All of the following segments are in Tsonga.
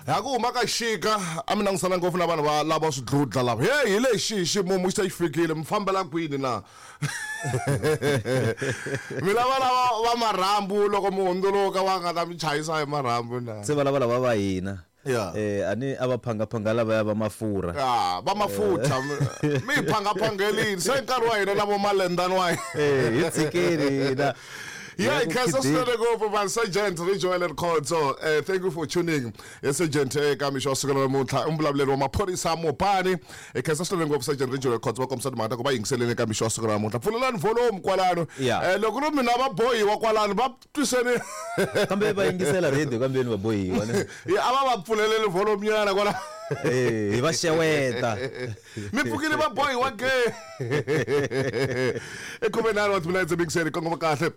Ha ku huma ka xika a mi langutisana ngopfu na vanhu va lava swidludla lava. Hey, hi lexi ximumu xi ta xi fikile, mi fambela kwini na? Mi lava lava va marhambu loko mi hundzuluka va nga ta mi chayisa hi marhambu na? Se va lava lava va hina. Yeah. A ni a va phangaphanga lavaya va mafurha. Ya, va mafutha. Mi hi phangaphangelini. Se nkarhi wa hina na vo malendani wa hina. Hi tshikeni hina. Yeah, Hi ya ku khensa khideni. swinene ngopfu man Sergeant Rijoel Khotso. Thank you for tuning. Sergeant eka mixo wa siku ra namuntlha i muvulavuleri wa maphorisa Mopani. Khensa swinene ngopfu Sergeant Rijoel Khotso va kombisa timhaka ta ku va yingiseleni eka mixo wa siku ra namuntlha. Pfulelani volume kwalano. Yeah. Loko ri mina va bohiwa kwalano va twiseni. Kambe va yingisela radio kambeni va bohiwa ne. Yeah, a va va pfuleleni volume nyana kwala. Hi va xeweta. Mi pfukile va bohiwa ke. I 14 wa timinetse mixeni kongoma kahle.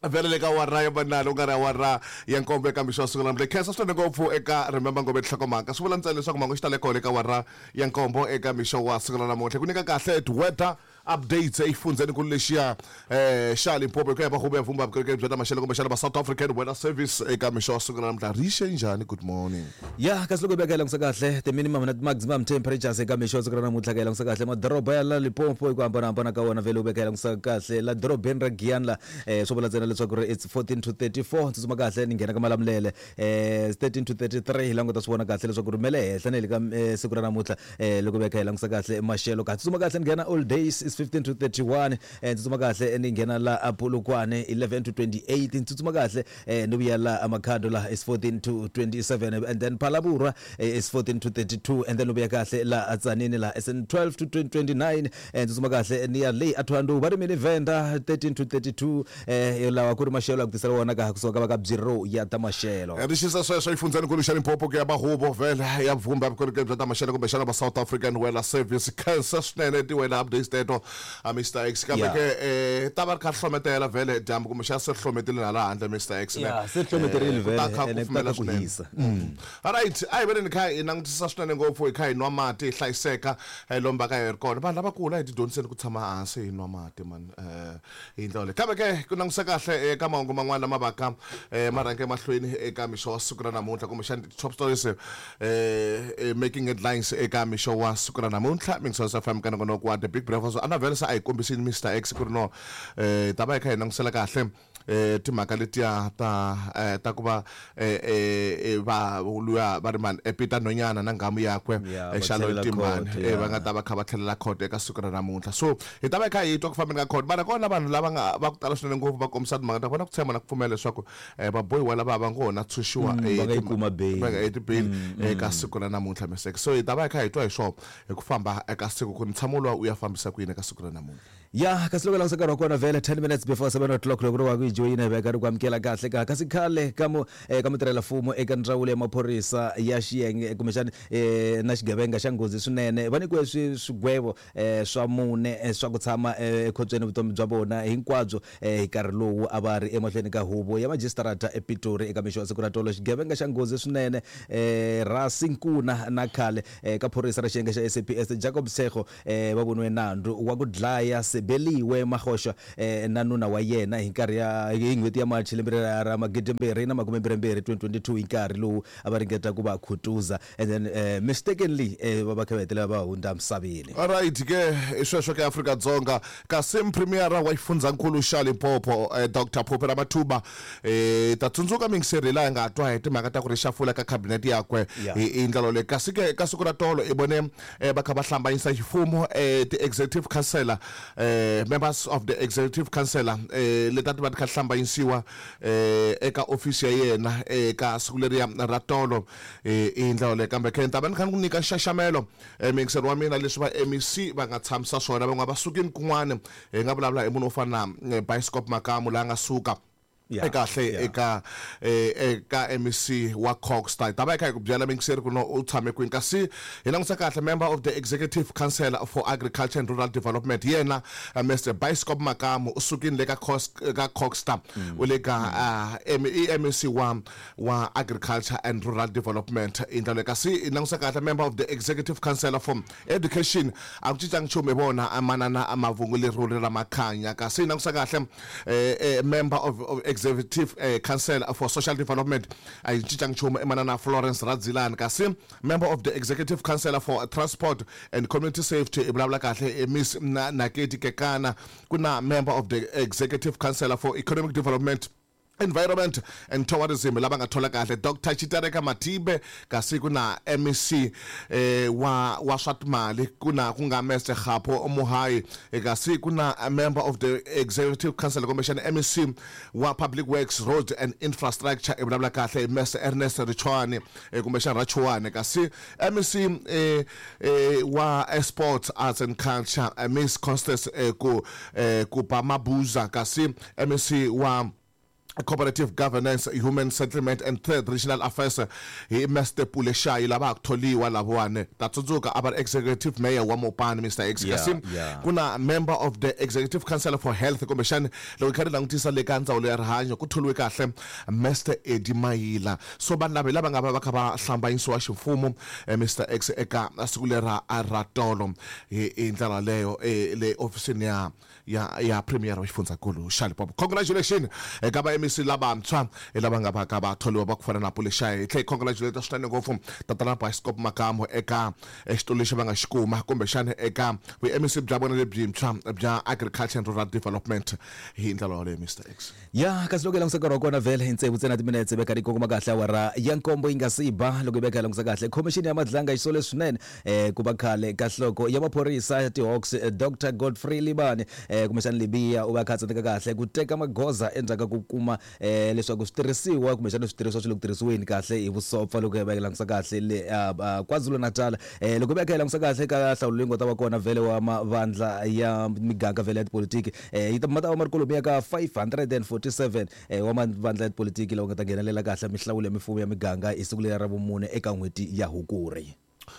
Vhele le ka awara ya vunharhu ku nga ri awara ya nkombo eka mixo wa siku ra namuntlha. Khensa swinene ngopfu eka Remember Ngome Nhlokomhaka. Swi vula ntsena leswaku mhangu xi tale kona eka awara ya nkombo eka mixo wa siku ra namuntlha. Ku nyika kahle ti-weather updates exifundzhenikulu lexiya xa Limpopo hi ku ya hi va huvo ya vumba vukorhokeri bya ta maxelo kumbexana va South African Weather Service eka mixo wa siku ra namuntlha. Ri xe njhani? Good morning. Ya, kasi loko hi veka hi langutisa kahle ti-minimum na ti-maximum temperatures eka mixo wa siku ra namuntlha ka hi langutisa kahle madoroba ya la Limpopo hi ku hambanahambana ka wona vhele u veka hi langutisa kahle la dorobeni ra Giyani la swo vula ntsena leswaku ri it's 14 to 34 tsutsuma kahle ni nghena ka Malamulele 13 to 33 hi languta swi vona kahle leswaku ri me le henhla na le ka siku ra namuntlha loko veka hi langutisa kahle maxelo ka tsutsuma kahle ni nghena all days is 15 to 31 tsutsuma kahle ni nghena la a Polokwane 11 to 28 tsutsuma kahle ni vuya la a Makhado la is 14 to 27 and then Phalaborwa is 14 to 32 and then u vuya kahle la a Tzaneen la is 12 to 29 tsutsuma kahle ni ya le a Thohoyandou va ri mini Venda 13 to 32 lawa ku ri maxelo ya ku tisela wona ka kusuka ka va ka Bureau ya ta maxelo. Ri xisa sweswo exifundzhenikulu xa Limpopo ku ya va huvo vhele ya vumba vukorhokeri bya ta maxelo kumbexana va South African Weather Service. Khensa swinene ti-weather updates teto a Mister X kambe ke ta va ri kha ri hlometela vhele dyambu kumbexana se ri hlometile hala handle Mister X ne. Yeah, se ri hlometerile Ku ta vhele kha ene ku ku ta kufumela kha ku swinene. hisa. Alright, a hi veneni kha hi langutisa swinene ngopfu hi kha hi nwa mati hi hlayiseka lomu va ka hi ri kona. Vanhu lavakulu a hi tidyondziseni ku tshama hansi hi nwa mati man hi ndlela yoleyo. Kambe ke ku langutisa kahle eka mahungu man'wana lama vaka ma rhange emahlweni eka mixo wa siku ra namuntlha kumbexana ti-top stories making headlines eka mixo wa siku ra namuntlha Mixos FM ka nongonoko wa The Big Breakfast. A na vhele se a hi kombisini Mister X ku ri no hi ta va hi kha hi langutisela kahle timhaka letiya ta ta ku va va luya va ri mani Peter Nonyana na nghamu yakwe Yeah, va Xalo tlhelela Ntimbani court, va nga yeah. ta va kha va tlhelela court eka siku ra namuntlha. So hi ta va hi kha hi twa ku fambeni ka court mara kona vanhu lava nga va ku tala swinene ngopfu va kombisa timhaka ta vona ku tshemba na ku pfumela leswaku vabohiwa lava va ngo na tshunxiwa Va nga yi kuma bail. Va nga yi ti-bail eka siku ra namuntlha Mister X. So hi ta va hi kha hi twa hi swona hi ku famba eka siku ku ntshamo luwa u ya fambisa ku yini eka siku ra namuntlha. Ya, kasi loko langutisa nkarhi wa kona vhele 10 minutes before 7 o'clock loko ri wa ku yi joyina hi veka ri ku amukela kahle ka kasi khale ka mu ka mutirhela-mfumo eka ndzawulo ya maphorisa ya xiyenge kumbexani na xigevenga xa nghozi swinene va nyikiwe swigwevo swa mune swa ku tshama ekhotsweni vutomi bya vona hinkwabyo hi nkarhi lowu a va ri emahlweni ka huvo ya majisitarata ePitori eka mixo wa siku ra tolo. Xigevenga xa nghozi swinene Rasi Nkuna na khale ka phorisa ra xiyenge xa SAPS Jacob Tshego va voniwe nandzu wa ku dlaya Sebeliwe Magosha na nuna wa yena hi nkarhi ya hi n'hweti ya March lembe ra 2022, 2022, hi nkarhi lowu a va ringeta ku va khutuza and then mistakenly va va kha va hetelela va hundza misaveni. Alright ke i sweswo ke Afrika-Dzonga kasi Premier wa xifundzankulu xa Limpopo Doctor Phophi Ramathuba ta tsundzuka mingiseri laha hi nga twa hi timhaka ta ku ri xafula ka cabinet yakwe hi ndlela leyi kasi ke ka siku ra tolo i vone va kha va hlambanyisa xifumo ti-executive councillor members of the executive councillor leti a ti va ti kha hlambanyisiwa eka ofisi ya yena eka siku leriya ra tolo i ndlela leyi kambe khe ni ta va ni kha ni ku nyika nxaxamelo muyingiseri wa mina leswi va MEC va nga tshamisa swona van'wana va sukini kun'wana hi nga vulavula hi munhu wo fana na Bioscope Makamu laha nga suka ekahle eka eka MEC wa Cogstar. Hi ta va hi kha hi ku byela muyingiseri ku no u tshame kwini kasi hi langutisa kahle member of the executive council for agriculture and rural development yena Mister Bioscope Makamu u sukile le ka ka Cogstar u le ka MEC wa agriculture and rural development hi ndlela leyi kasi hi langutisa kahle member of the executive council for education a ku cincangi nchumu hi vona manana Mavungu Leruri ra Makhanya kasi hi langutisa kahle member of Executive Council for Social Development a yi cincangi nchumu i manana Florence Radzilani. Kasi Member of the Executive Council for Transport and Community Safety i vulavula kahle i Miss Nakedi Kekana. Ku na Member of the Executive Council for Economic Development, Environment and Tourism lava nga thola kahle Dr Chitereka Matibe. Kasi ku na MEC wa swa timali ku na ku nga Mr Kgapo Mohayi. Kasi ku na Member of the Executive Council kumbexana MEC wa Public Works, Roads and Infrastructure i vulavula kahle Mr Ernest Richwani kumbexana Rachuani. Kasi MEC wa Sports, Arts and Culture Miss Constance ku Mabuza. Kasi MEC wa Cooperative Governance, Human Settlement and Third Regional Affairs hi Mr Pule Shayi. Lava ku tholiwa lavawani ta tsundzuka a va ri Executive Mayor wa Mopani, Mr X. Kasi ku na Member of the Executive Council for Health kumbexani loko hi kha ri langutisa le ka ndzawulo ya rihanyo ku tholiwe kahle Mr Eddie Mayila. So vanhu lava hi lava nga va va kha va hlambanyisiwa ximfumo Mr X eka siku lera ra tolo hi ndlela leyo le ofisini ya Premier wa xifundzankulu xa Limpopo. Congratulations eka va MEC lavantshwa lava nga va ka va tholiwa va ku fana na Pule Shayi. Hi tlhe hi congratulate swinene ngopfu tatana Bioscope Makamu eka xitulu lexi va nga xi kuma kumbexana eka vu MEC bya vona lebyintshwa bya Agriculture and Rural Development hi ndlela yoleyo, Mr X. Ya, kasi loko hi langusa nkarhi wa kona vhele hi tsevu ntsena timinetse veka ri kongoma kahle awara ya nkombo yi nga si ba. Loko hi veka hi langusa kahle khomixini ya Madlanga yi sole swinene ku va khale ka nhloko ya maphorisa ya ti-Hawks Dr Godfrey Libani kumbexana Libiya u va kha a tsandzeka kahle ku teka magoza endzhaku ka ku kuma leswaku switirhisiwa kumbexana switirhisiwa swi le ku tirhisiweni kahle hi vusopfa loko hi va hi langusa kahle le KwaZulu-Natal. Loko hi va hi kha hi langusa kahle ka nhlawulo leyi nga ta va kona vhele wa mavandla ya miganga vhele ya tipolitiki yi ta ma ta va ma ri kwalomuya ka 547 wa mavandla ya tipolitiki lawa nga ta nghenelela kahle mihlawulo ya mifumo ya miganga hi siku leri ra vumune eka n'hweti ya Hukuri.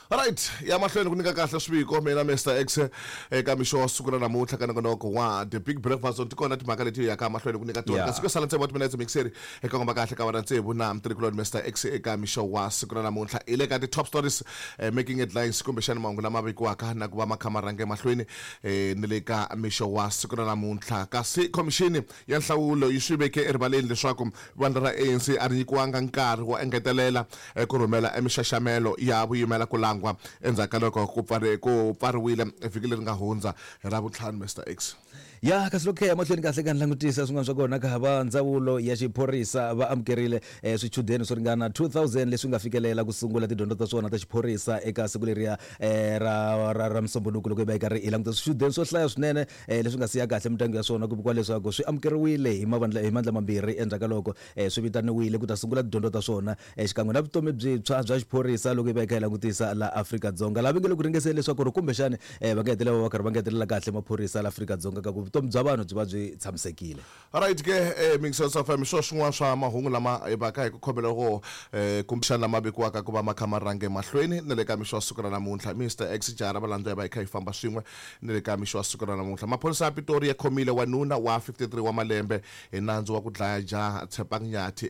Right, ya mahlweni ku nyika kahle swiviko mina Mr X eka mixo wa siku ra namuntlha ka nongonoko wa The Big Breakfast. Ti kona timhaka leti yaka mahlweni ku nyika tona kasi ku sala tsevu wa timinetse mixeri eka komba kahle ka wena tsevu na mtirhikuloni Mr X eka mixo wa siku ra namuntlha hi le ka ti-top stories making headlines kumbexana mahungu lama vekiwaka na ku va ma kha ma rhange mahlweni ni le ka mixo wa siku ra namuntlha. Kasi khomixini ya nhlawulo yi swi veke erivaleni leswaku vandla ra ANC a ri nyikiwanga nkarhi wo engetelela ku rhumela emixaxamelo ya vuyimela ku langwa endzhaku ka loko ku pfariwile vhiki leri nga hundza hi Ravuntlhanu, Mr X. Ya, kasi loko ya mahlweni kahle ka ni langutisa swin'wana swa kona ka va ndzawulo ya xiphorisa va amukerile swichudeni swo ringana 2000 leswi nga fikelela ku sungula tidyondzo ta swona ta xiphorisa eka siku leriya ra Musombhunuku. Loko hi va hi karhi hi languta swichudeni swo hlaya swinene leswi nga siya kahle mindyangu ya swona ku vikiwa leswaku swi amukeriwile hi mavandla hi mandla mambirhi endzhaku ka loko swi vitaniwile ku ta sungula tidyondzo ta swona xikan'we na vutomi byintshwa bya xiphorisa. Loko hi va hi kha hi langutisa la Afrika-Dzonga laha va nge le ku ringeseni leswaku ri kumbexani va nga hetelela va karhi va ngetelela kahle maphorisa la Afrika-Dzonga ka ku vutomi bya vanhu byi va byi tshamisekile. Right ke Mixers FM swo swin'wana swa mahungu lama hi vaka hi ku khomela ko kumbexana lama vekiwaka ku va ma kha ma rhange mahlweni na le ka mixo wa siku ra namuntlha. Mr X jara valandza hi va hi kha hi famba swin'we ni le ka mixo wa siku ra namuntlha. Maphorisa ya Pitori ya khomile wanuna wa 53 wa malembe hi nandzu wa ku dlaya jaha Tshepang Nyathi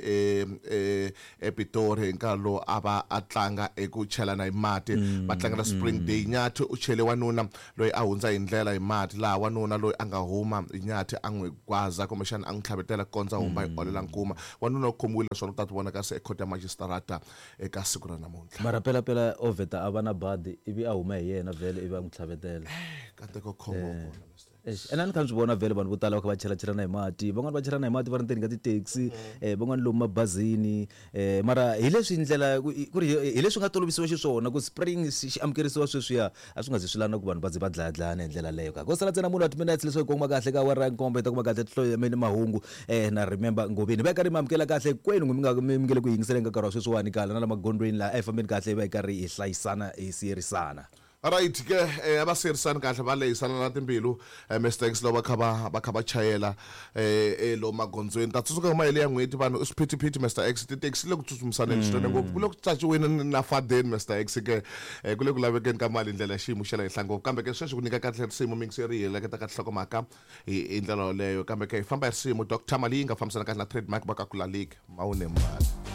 ePitori hi nkarhi lowu a va a tlanga eku chelana hi mati va tlangela Spring Day. Nyathi u chele wanuna loyi a hundza hi ndlela hi mati laha wanuna loyi a nga huma hi Nyathi a n'wi gwaza kumbexana a n'wi tlhavetela ku kondza humba hi olela nkuma. Wanuna u khomiwile naswona u ta ti vona kasi ekhoto ya majisitarata eka siku ra namuntlha. Mara pelapela o vheta a va na badi ivi a huma hi yena vhele ivi a n'wi tlhavetela. Kateko khombo kona Mr. Eish, ene a ni kha ni swi vona vhele vanhu vo tala va kha va chelachelana hi mati, van'wani va chelana hi mati va ri ndzeni ka ti-taxi van'wani lomu mabazini mara hi leswi ndlela ku ri hi leswi nga tolovisiwa xiswona ku spring xi amukerisiwa sweswiya a swi nga zi swi lava na ku vanhu va ze va dlayadlayana hi ndlela leyo ka ko sala ntsena munhu wa timinetse leswaku hi kongoma kahle ka awara ya nkombo hi ta kuma kahle tinhloyameni mahungu na Remember Ngoveni va hi karhi mi amukela kahle kwenu mi nga mi nge le ku yingiseleni ka nkarhi wa sweswiwani kala na la magondzweni laha a hi fambeni kahle hi va hi karhi hi hlayisana hi siyerisana. Right ke a va siyerisani kahle va lehisana na timbilu Mr X loko va kha va chayela lomu magondzweni. Ta tsundzuka hi mahele ya n'hweti vanhu i swiphithiphiti Mr X tithekisi le ku tsutsumisaneni swinene ngopfu ku le ku tsaciweni na fadeni Mr X ke ku le ku lavekeni ka mali hi ndlela ya xiyimo xa le henhla ngopfu kambe ke sweswi ku nyika kahle risimu miyingiseri hi heleketa ka tinhlokomhaka hi ndlela yoleyo kambe ke hi famba hi risimu Dr Malinga fambisana kahle na trademark va ka ku laliki mawune mali.